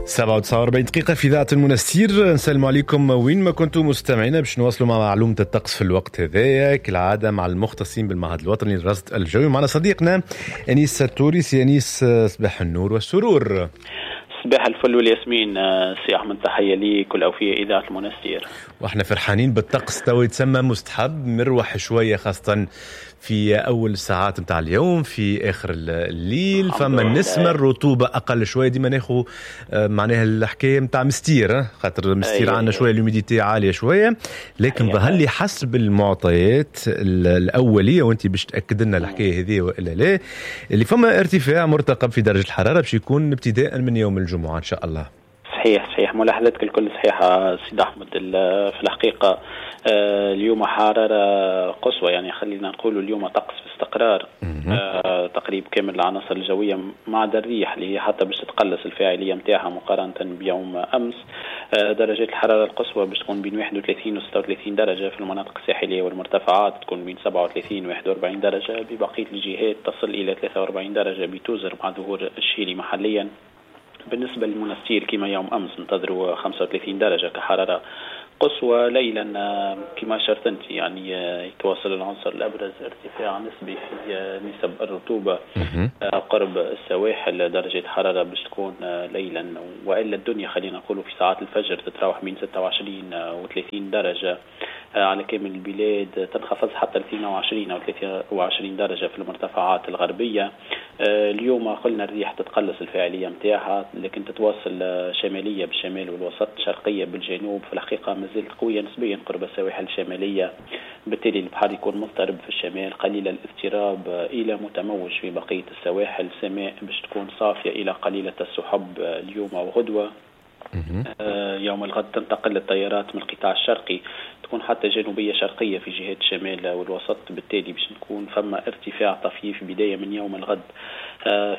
7:49 دقيقة في إذاعة المنستير. نسلم عليكم وين ما كنتم مستمعينا باش نواصلوا مع معلومة الطقس في الوقت هذايا كالعادة مع المختصين بالمعهد الوطني للرصد الجوي. معنا صديقنا أنيس التوري. سي أنيس، صباح النور والسرور. صباح الفل والياسمين سي أحمد، تحية ليك والأوفياء إذاعة المنستير. واحنا فرحانين بالطقس تو يتسمى مستحب، مروح شوية خاصة في أول الساعات نتاع اليوم، في آخر الليل فما النسمة، الرطوبة أقل شوية. ديما ناخو معناها الحكاية نتاع مستير، خاطر مستير عندنا شوية l'humidité عالية شوية، لكن ظهر لي حسب المعطيات الأولية، وأنت باش تأكد لنا الحكاية هذه وإلا لا، اللي فما ارتفاع مرتقب في درجة الحرارة باش يكون ابتداء من يوم الجمعة إن شاء الله. صحيح، ملاحظتك الكل صحيحة سيد أحمد. في الحقيقة اليوم حرارة قصوى، يعني خلينا نقول اليوم طقس في استقرار تقريب كامل العناصر الجوية ما عدا الريح اللي هي حتى باش تتقلص الفاعلية نتاعها مقارنة بيوم أمس. درجات الحرارة القصوى باش تكون بين 31 و 36 درجة في المناطق الساحلية والمرتفعات، تكون بين 37 و 41 درجة ببقية الجهات، تصل إلى 43 درجة بتوزر مع ظهور الشيلي محليا. بالنسبة للمنستير كما يوم أمس انتظروا 35 درجة كحرارة قصوى. ليلا كما أشرت أنت يعني يتواصل العنصر الأبرز ارتفاع نسبي في نسب الرطوبة قرب السواحل. درجة حرارة باش تكون ليلا وإلا الدنيا خلينا نقولوا في ساعات الفجر تتراوح بين 26 و 30 درجة على كامل البلاد، تنخفض حتى 22 أو 23 درجة في المرتفعات الغربية. اليوم قلنا الريح تتقلص الفاعلية متاعها، لكن تتواصل شمالية بالشمال والوسط، شرقية بالجنوب. في الحقيقة ما زالت قوية نسبيا قرب السواحل الشمالية، بالتالي البحر يكون مضطرب في الشمال، قليل الاضطراب إلى متموج في بقية السواحل. سماء باش تكون صافية إلى قليلة السحب اليوم وغدوة. يوم الغد تنتقل التيارات من القطاع الشرقي، تكون حتى جنوبية شرقية في جهات الشمال والوسط، بالتالي باش نكون فما ارتفاع طفيف بداية من يوم الغد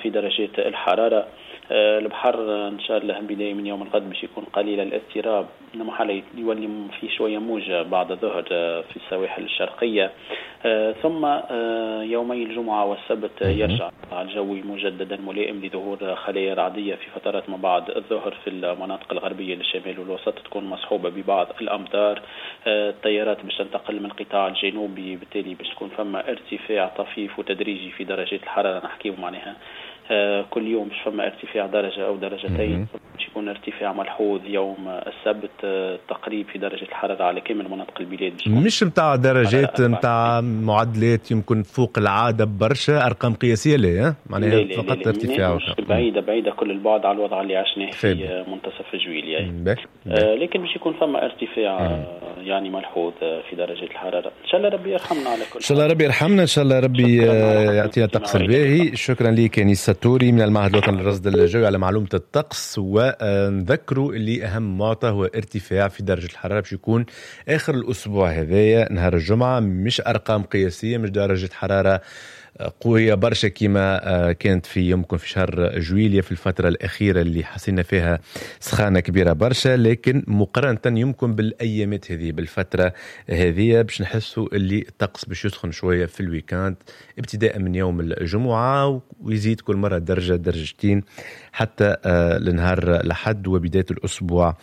في درجات الحرارة. البحر إن شاء الله بداية من يوم الغد باش يكون قليل الاضطراب، إنما حالة يولي في شوية موجة بعد الظهر في السواحل الشرقية. ثم يومي الجمعة والسبت يرجع الجو مجددا ملائم لظهور خلايا رعدية في فترات ما بعد الظهر في المناطق الغربية للشمال والوسط، تكون مصحوبة ببعض الأمطار. التيارات باش تنتقل من القطاع الجنوبي، بالتالي باش تكون فما ارتفاع طفيف وتدريجي في درجات الحرارة. نحكيه معناها كل يوم باش فما ارتفاع درجة أو درجتين، باش يكون ارتفاع ملحوظ يوم السبت تقريب في درجة الحرارة على كامل مناطق البلاد. مش متاع درجات متاع معدلات يمكن فوق العادة برشا، أرقام قياسية لا، معناها فقط ارتفاع بعيدة بعيدة كل البعد على الوضع اللي عشناه في منتصف جويلية، لكن باش يكون فما ارتفاع يعني ملحوظ في درجة الحرارة. إن شاء الله ربي يرحمنا على كل. إن شاء الله ربي يرحمنا، إن شاء الله ربي يعطينا الطقس الباهي. شكرا لك أنيس التوري من المعهد الوطني للرصد الجوي على معلومة الطقس. ونذكروا اللي أهم معطى هو ارتفاع في درجة الحرارة باش يكون آخر الأسبوع هذايا نهار الجمعة، مش أرقام قياسية، مش درجة حرارة قوية برشا كما كانت في يمكن في شهر جويلية في الفترة الأخيرة اللي حسينا فيها سخانة كبيرة برشا، لكن مقارنة يمكن بالأيامات هذه بالفترة هذه باش نحسوا اللي الطقس باش يسخن شوية في ال week-end ابتداء من يوم الجمعة، ويزيد كل مرة درجة درجتين حتى لنهار الأحد وبداية الأسبوع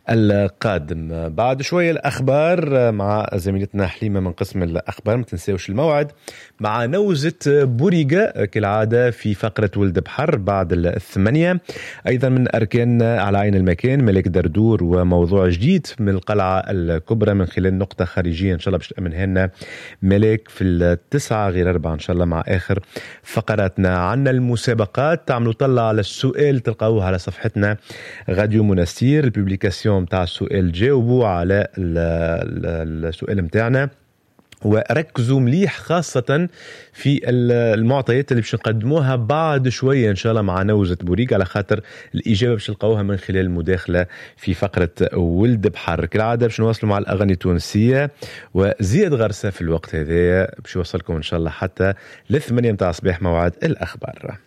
القادم. بعد شوية الأخبار مع زميلتنا حليمة من قسم الأخبار، ما تنساوش الموعد مع نوزة بوريقة كالعادة في فقرة ولد بحر بعد 8. أيضا من أركان على عين المكان ملك دردور وموضوع جديد من القلعة الكبرى من خلال نقطة خارجية إن شاء الله باش تأمنها لنا ملك في 8:45 إن شاء الله مع آخر فقراتنا. عنا المسابقات، تعملوا طلع على السؤال تلقاوه على صفحتنا راديو منستير، ال publication تاع السؤال جاوبوا على السؤال متاعنا وركزوا مليح خاصة في المعطيات اللي باش نقدموها بعد شوية إن شاء الله مع نوزة بوريق، على خاطر الإجابة باش نلقاوها من خلال المداخلة في فقرة ولد بحر. كالعادة باش نواصلوا مع الأغاني التونسية وزياد غرسة في الوقت هذايا باش يوصلكم إن شاء الله حتى 8 متاع الصباح موعد الأخبار.